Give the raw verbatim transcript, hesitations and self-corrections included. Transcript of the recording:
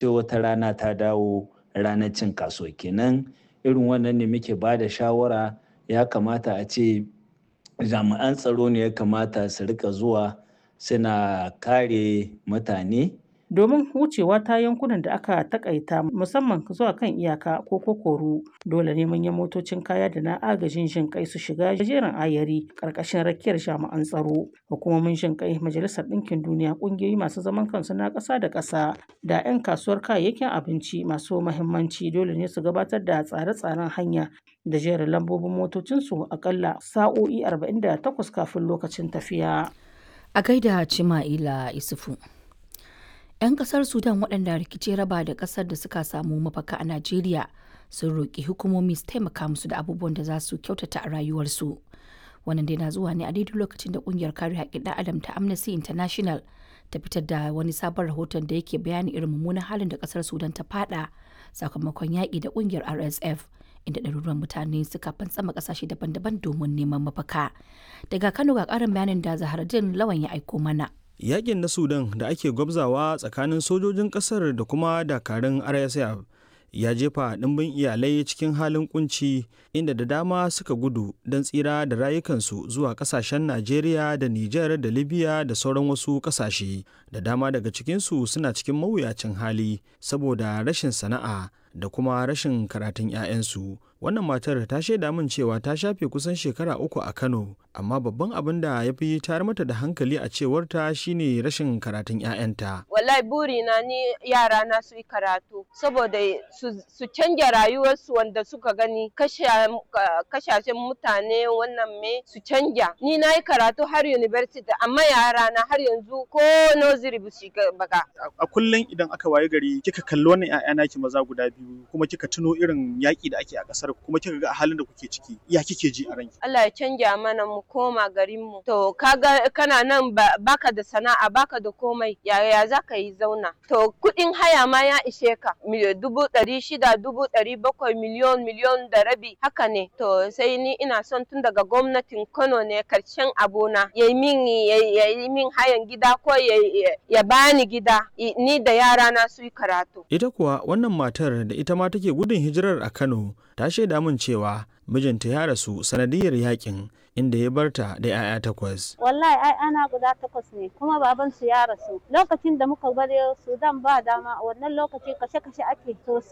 Sai wata rana ta dawo ranar cin kasuwa kenan. Irin wannan ne muke ba da shawara, ya kamata a ce jami'an tsaro ne ya kamata su rika zuwa suna kare mutane. Domin wucewa ta yankunan da aka takaita musamman zuwa kan iyaka ko kokoru, dole ne manyan motocin kaya da na agajin jin kai su shiga jerin ayari ƙarƙashin rakiyar jami'an tsaro. Hukumomin jin kai, Majalisar Ɗinkin Duniya, ƙungiyoyi masu zaman kansu na ƙasa da ƙasa da 'yan kasuwar kayayyakin abinci masu muhimmanci dole ne su gabatar da tsare-tsaren hanya da jerin lambobin motocinsu aƙalla sa'o'i arba'in da takwas kafin lokacin tafiya. A gaida Chima'ila Isufu. 'Yan kasar Sudan waɗanda rikici raba da ƙasar da suka samu mafaka a Najeriya sun roƙi hukumomi su taimaka musu da abubuwan da za su kyautata a rayuwarsu. Wannan dai na zuwa ne a daidai lokacin da ƙungiyar kare haƙƙin ɗan adam ta Amnesty International ta fitar da wani sabon rahoton da yake bayani irin mummunan halin da ƙasar Sudan ta fada sakamakon yaƙi da ƙungiyar R S F, inda ɗaruruwan mutane suka fantsama ƙasashe daban-daban domin neman mafaka. Daga Kano ga ƙarin bayanin da Zaharaddin Lawan ya aiko mana. Yakin na Sudan da ake gwabzawa tsakanin sojojin kasar da kuma dakarun R S F ya jefa ɗimbin iyalai cikin halin kunci, inda da dama suka gudu don tsira da rayukansu zuwa kasashen Najeriya da Nijar da Libya da sauran wasu kasashe. Da dama daga cikinsu suna cikin mawuyacin hali saboda rashin sana'a da kuma rashin karatun 'ya'yansu. Wannan matar ta shaida min cewa ta shafe kusan shekara uku a Kano, amma babban abin da ya fi tayar mata da hankali a cewarta shine rashin karatun 'ya'yanta. Wallahi burina ni yara na su yi karatu saboda su canja rayuwarsu. Wanda suka gani kashashen mutane wannan me su canja. Ni na yi karatu har university, amma yara na har yanzu ko nursery ba su baka. A kullum idan aka waye gari kika kalli wannan 'ya'ya naki maza guda biyu, kuma kika tuno irin yaƙi da ake a ƙasar, kuma kika ga halin da kuke ciki, ya kike ji a ranki? Allah ya canja mana mu koma garin mu. To kaga kana nan, baka da sana'a, baka da komai, yaya za ka yi zauna? To kuɗin haya ma ya ishe ka dubu ɗari shida, dubu ɗari bakwai, miliyon, miliyon da rabi, haka ne. To sai ni ina son tun daga gwamnatin Kano ne karshen abuna ya yi min ya yi min hayan gida ko ya bani gida ni da yara na su yi karatu. Ita kuwa wannan matar da ita ma take gudun hijirar a Kano ta shaida min cewa mijinta ya rasu sanadiyar yakin, inda ya barta da 'ya'ya takwas. Wallahi ai ana guda takwas ne, kuma baban su ya rasu. Lokacin da muka bar Sudan ba dama, wannan lokaci kashe-kashe ake sosai.